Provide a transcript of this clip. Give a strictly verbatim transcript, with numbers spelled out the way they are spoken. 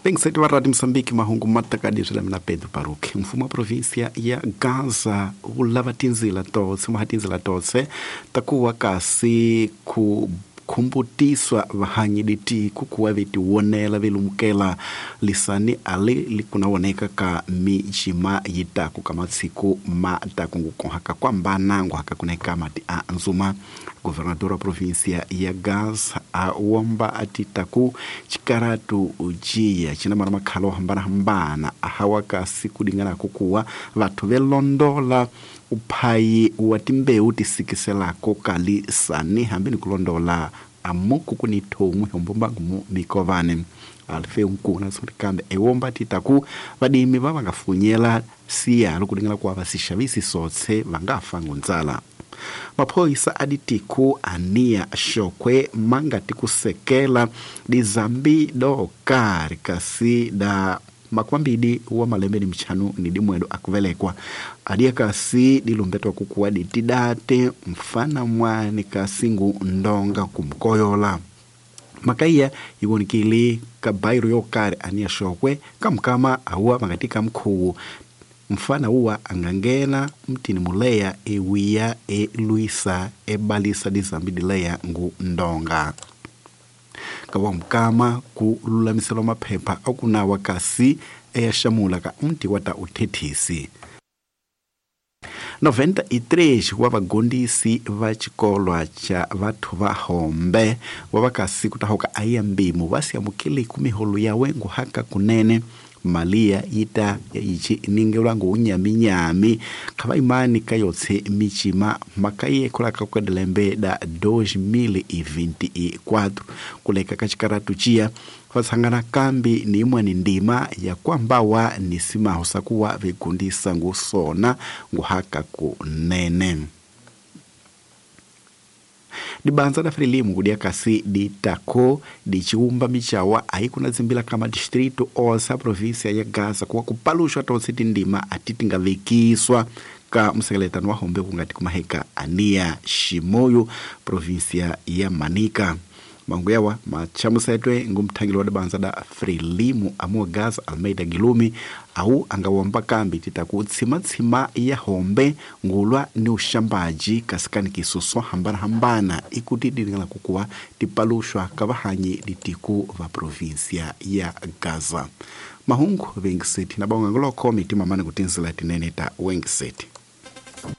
Vengiseti va Radio Mozambique mahungu matakadiswi la mina Pedro Baruch. Mfumo wa provinsia ya Gaza wu lava tindzila totse maha tindzila totse ta kuwa kasi ku khumbutiswa vahanyi ditiku kuwa vetiwonela velumukela lisani ale likunawoneka ka mijima yitaku ka matsiku mataku ngukohaka kwambana nguhaka kuneka mati a nzuma. Governador wa provinsia ya Gaza a womba atitaku chikaratu ujiya china mara makhalo hambana hambana ahawa kasi kudingana kukuwa vathu velondola uphayi wa timbewu tisikiselako kalisani hambi ni kulondola amuku kuni thomwe hombombangu mu mikovane alfe nkuna kambe ewomba titaku vadimi va vangafunyela siyalo kudingana kuwa vasixavisi sotse vangafa ngundzala. Maphoyisa aditiku ania xokwe mangati kusekela dizambi do kari kasi da makwambidi wa malembe ni mchanu ni dimwedo akuvelekwa adia kasi dilumbetwa kukuwa ditidate mfana mwani kasingu ndonga kumkoyola makaiya iwonikili kabairo yokari ania xokwe kamkama awa mangatika mkhuwu mfana uwa angangena mtini muleya ewiya eluisa ebalisa dizambi dileya ngu ndonga kawa mkama kululamiselwa maphepha akunawa kasi eyashamula ka mti wata uthethisi. noventa e três wa vagondisi va xikolwa xa vathu va hombe wa vakasi kutahoka ayambimu vasiamukeli kumiholo yawe nguhaka kunene malia yita yichi ningelwa ngunyaminyami khava imani kayotse michima makaye kulaka kwedilembe da dois mil e vinte e quatro kuleka kachikaratu chia vatsangana kambi ni imwe ndima ya kwambawa ni simaho sakuwa vigundisa ngusona nguhaka kunene. Dibanza da Frelimu kudia kasi ditako dichiumba michawa aikuna zimbila kama distrito osa provinsia ya Gaza kuwa kupalushwa tonse tindima atitingavekiswa ka msekeletano wa hombe kungati kumaheka ania Shimoyo provinsia ya Manica. Manguyawa machamusetwe ngumthangilo wa dibanza da Frelimu amuwa Gaza Almeida Gilumi au angawamba kambi titaku tsima-tsima ya hombe ngulwa ni ushambaji kasikani kisuswa hambana hambana ikuti dilingala kukuwa tipalushwa kavahanyi ditiku va provinsia ya Gaza. Mahungu vengiseti na bonga ngoloko mitima mane kutinzila tinene ta wengiseti.